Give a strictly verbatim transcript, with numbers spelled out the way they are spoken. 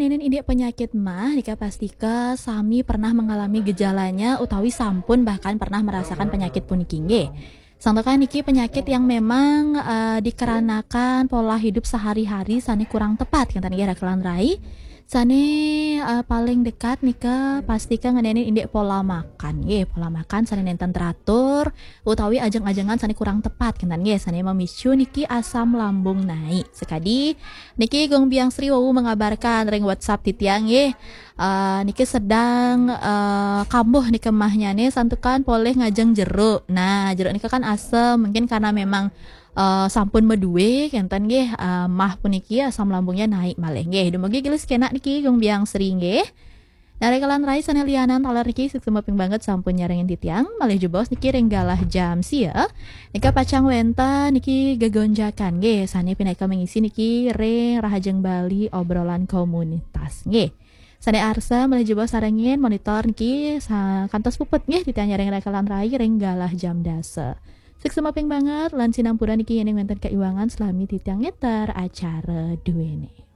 Ngenénin indik penyakit mah, nika pastika sami pernah mengalami gejalanya utawi sampun bahkan pernah merasakan penyakit puniki nggih. Santukan niki penyakit yang memang eh, dikarenakan pola hidup sehari-hari sane kurang tepat, ngenten nggih, Raka lan Rai. Sane eh, paling dekat nika pastika ngenénin indik pola makan nggih, pola makan sane nenten teratur utawi ajeng-ajengan sane kurang tepat, ngenten nggih, sane memicu niki asam lambung naik. Sekadi niki Gung Biang Sri wau mengabarkan ring WhatsApp titiang nggih. Eh, niki sedang eh, kambuh nika mahnyane santukan polih ngajeng jeruk. Nah, jeruk nika kan asem, mungkin karena memang eh, sampun madue kenten nggih, eh, mah puniki asam lambungnya naik malih nggih. Dumugi gelis kenak niki Gung Biang Sri nggih. Nah, Raka lan Rai sane lianan taler niki suksma ping banget sampun nyarengin titiang, malih jebos niki ring galah jam sia. Nika pacang wenten niki gegonjakan nggih, sane pinaka mengisi niki ring Rahajeng Bali obrolan komunitas nggih. Sane arsa malih jebos sarengin monitor niki sa-, kantos puput nggih titiang nyarengin Raka lan Rai ring galah jam dasa. Suksma ping banget lan sinampura niki yening wenten kaiwangan selami titiang ngeter acara duene.